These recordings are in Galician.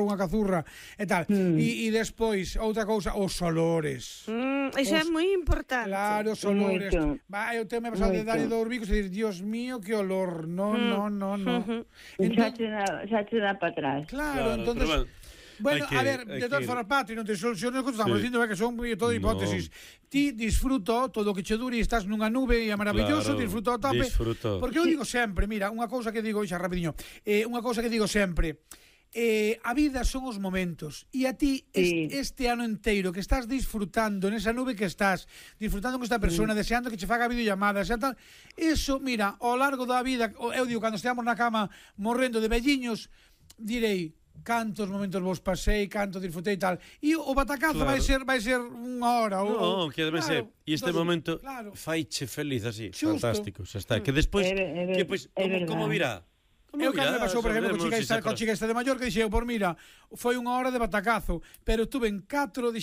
comprou unha cazurra e tal. E despois, outra cousa, os olores. Iso é moi importante. Claro, os olores. Eu tenho me pasado de darlle do Urbicos e dir, Dios mío, que olor. No. Xa te dá para atrás. Claro, entonces... Bueno, a ver, de todas formas, Patri, non te soluciones o que estamos dicindo, que son todo hipótesis. Ti disfruto todo o que che dure e estás nunha nube e é maravilloso, disfruto ao tope. Porque eu digo sempre, mira, unha cousa que digo, xa rapidiño, unha cousa que digo sempre, a vida son os momentos e a ti este ano inteiro que estás disfrutando nesa nube que estás disfrutando con esta persona, deseando que che faga videollamadas e tal, eso, mira, ao largo da vida, eu digo, cando esteamos na cama morrendo de velliños, direi cantos momentos vos pasei, canto disfrutei e tal, e o batacazo vai ser unha hora non, que ademais e este momento faiche feliz así, fantástico, xa está, que despois como virá. Eu cando me pasou, por exemplo, con chica esta de Mallorca, dixen eu, por mira, foi unha hora de batacazo, pero estuve en 4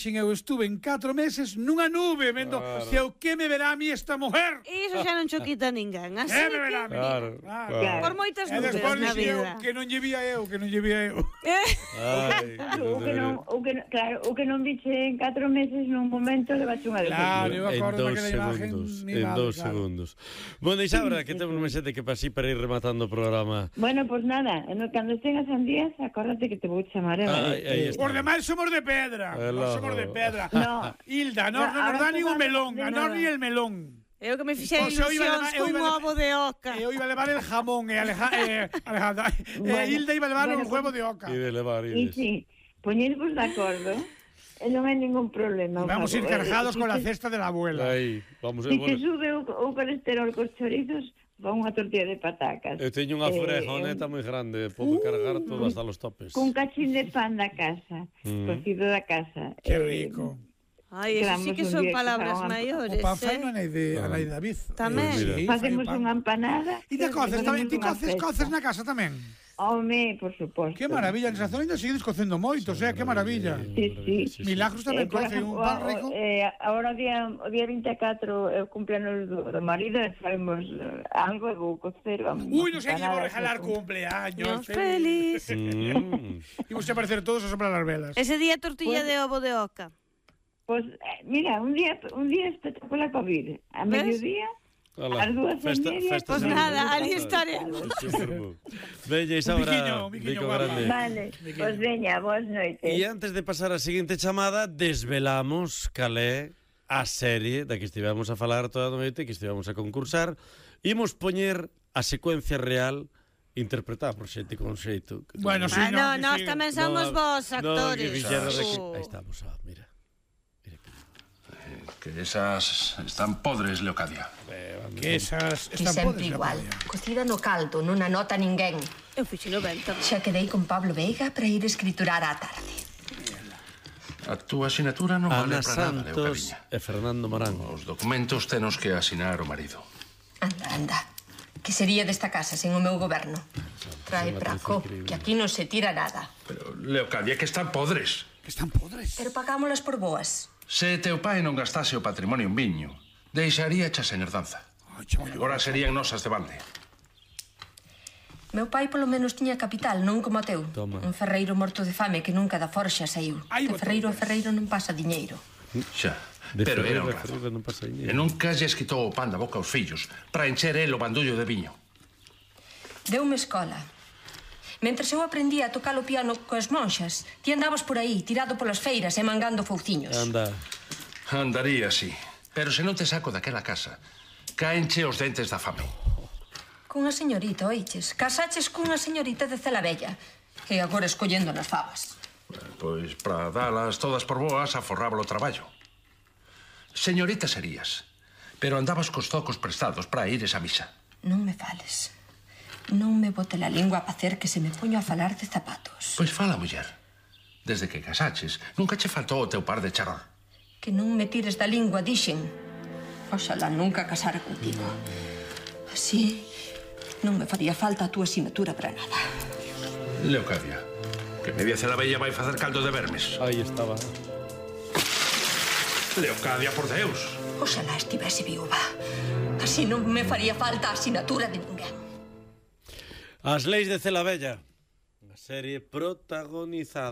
meses nunha nube, vendo, se o que me verá a mí esta mujer. Iso xa non cho quita ninguén, así me verá a mí. Por moitas nubes na vida. Que non lle vía eu. O que non viche en 4 meses nun momento levache unha de Claro, eu acordo daquela imagen. En 2 segundos. Bueno, Isaura, que temos un mesete que pasí para ir rematando o programa. Bueno, pues nada, cando estén as sandías, acórdate que te vou chamar. Por demais somos de pedra. Somos de pedra. Hilda, non nos dá nin un melón, a non ni el melón. Eu que me fixei ilusións cun ovo de oca. Eu iba a levar el jamón e Alejandra Hilda iba a levar un huevo de oca. E de levar Ides. Sí, poñervos de acordo. Non hai ningún problema. Vamos a ir cargados con la cesta de la abuela. Si te sube o colesterol cos chorizos, va unha tortilla de patacas. Eu teño unha fregoneta moi grande, podo cargar todo hasta los topes. Cun cachín de pan da casa, cocido da casa. Que rico. Ai, eso sí que son palabras maiores. O pan fai non hai de David. Tamén. Facemos unha empanada. E te coces tamén, ti coces na casa tamén? Home, por suposto. Que maravilla, nesa zona ainda seguides cocendo moito, que maravilla. Sí. Milagros tamén coce un pan rico. Agora o día 24 é o cumpleaños do marido e faemos algo e vou cocer. Ui, non sei que vou regalar cumpleaños. Feliz. Imos a aparecer todos a soprar as velas. Ese día tortilla de ovo de oca. Pois, mira, un día espectacular para vir. A mediodía... As 2:30. Pues nada, ali estaremos. Veña, Isaura, Miquiño grande. Vale, pues veña, boas noites. E antes de pasar a seguinte chamada, desvelamos cal é a serie da que estivemos a falar toda a noite, que estivemos a concursar. Imos poñer a secuencia real interpretada por xente con xeito. Bueno, si, nós tamén somos vos actores. Aí estamos, mira. Que esas están podres, Leocadia. Que esas están sempre igual. Cocida no caldo, non anota ninguén. Eu fixino ben tamén. Xa quedei con Pablo Veiga para ir escriturar á tarde. A túa asinatura non vale Ana para nada, Santos Leocadiña. e Fernando Morán. Os documentos tenos que asinar o marido. Anda. Que sería desta casa sen o meu goberno? Trae praco, que aquí non se tira nada. Pero, Leocadia, que están podres. Que están podres. Pero pagámolas por boas. Se teu pai non gastase o patrimonio en viño, deixaría chas en herdanza. Agora serían nosas de balde. Meu pai polo menos tiña capital, non como o teu. Un ferreiro morto de fame que nunca da forxa saiu. De ferreiro a ferreiro non pasa diñeiro. Xa, pero era honrado. E nunca lles quitou o pan da boca aos fillos para encher el o bandullo de viño. Deume escola. Mentres eu aprendía a tocar o piano coas monxas, ti andabas por aí, tirado polas feiras e mangando fouciños. Andaría así. Pero se non te saco daquela casa, caenche os dentes da fame. Cunha señorita, oiches? Casaches cunha señorita de Celavella, que agora escollendo nas favas. Pois, para dalas todas por boas, aforrábalo o traballo. Señorita serías, pero andabas cos zocos prestados para ires a misa. Non me fales. Non me bote la lingua a facer que se me poño a falar de zapatos. Pois fala, muller. Desde que casaches, nunca che faltou o teu par de charol. Que non me tires da lingua, dixen. Oxalá nunca casara contigo. Así, non me faría falta a túa asignatura para nada. Leocadia, que media Celavella vai facer caldo de vermes. Aí estaba. Leocadia, por Deus. Oxalá estivese viúva. Así non me faría falta a asignatura de ninguén. As leis de Celavella, unha serie protagonizada